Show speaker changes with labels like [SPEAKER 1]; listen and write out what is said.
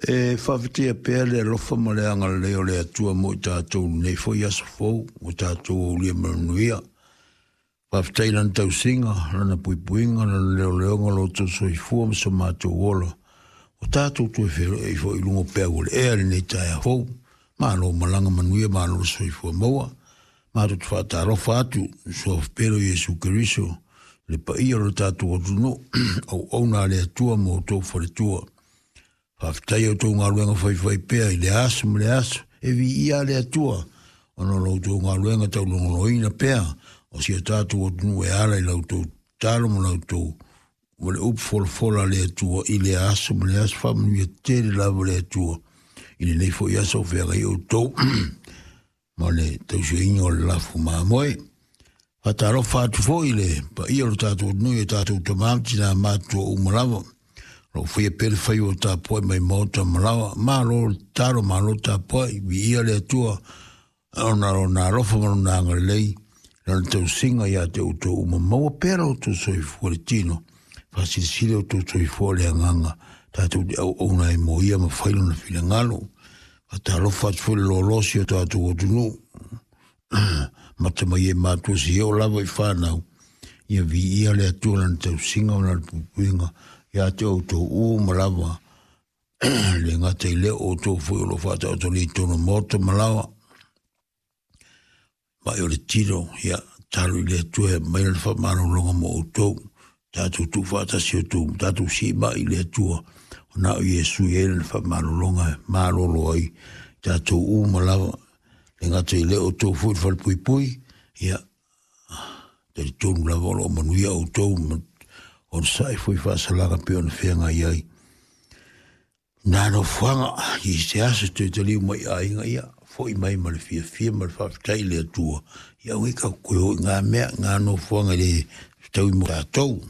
[SPEAKER 1] E faafetaia pea le alofa ma le agalelei o le Atua mo i tatou i lenei foi aso fou ua tatou aulia ma le manuia. Faafetai i Lana tausiga, Lana puipuiga, Lana leoleoga, lo outou soifua ma so matou ola. Ua tatou toe feiloai foi i luga o peau o le ea i lenei taeao fou. Malo malaga manuia, malo le soifua maua. Matou te faatalofa atu i le Suafa pele o Iesu Keriso, le paia o le tatou atunuu, auauna a le Atua ma outou faletua. Faafetai i a outou galuega faifaipea i lea aso ma lea aso, e viia le Atua ona o la outou galuega taulogoloina pea o si o tatou atunuu e ala i la outou tatalo ma la outou ma le upu folafola a le Atua i lea aso ma lea aso. Faamanuia tele lava le Atua i lenei foi aso o feagai outou ma le tausiaina o le lafu mamoe. Faatalofa atu foi i le paia o le tatou atunuu i o tatou tama ma tina matutua uma lava. O lo o faia pea le faiva o tapuai mai maota ma laoa. Malo le tatalo, malo le tapuai, viia le Atua ona o lona alofa ma lona agalelei, lana tausiga ia te outou uma. Maua pea lo outou soifua i le tino, faasilisili outou soifua i le agaga, tatou te auauna ai mo ia ma fai lona finagalo. Faatalofa atu foi i le loaloa o si o tatou atunuu. Mata mai e matua seia oo lava i fanau, ia viia le Atua lana tausiga ma lana puipuiga ia te outou uma lava. Le gata i lea, o outou foi o lo o faataotolia i totonu o maota ma laoa. Mai o le tino, ia, talo i le Atua e aumai lana faamalologa mo outou. Tatou tuufaatasi outou, tatou siimai i le Atua, o na o Iesu e i ai lana faamalologa e malolo ai tatou uma lava. Le gata i lea, outou foi le falepuipui, ia, talitonu lava o lo o manuia outou, onosai foi faasalaga pei ona feagai ai. Nā nofoaga i se aso toe taliu mai i aiga, ia, foi mai ma le fiafia ma le faafetai i le Atua. Ia aua ka koe hoi ngā mea, ngā nofoaga i le fetaui mo tātou.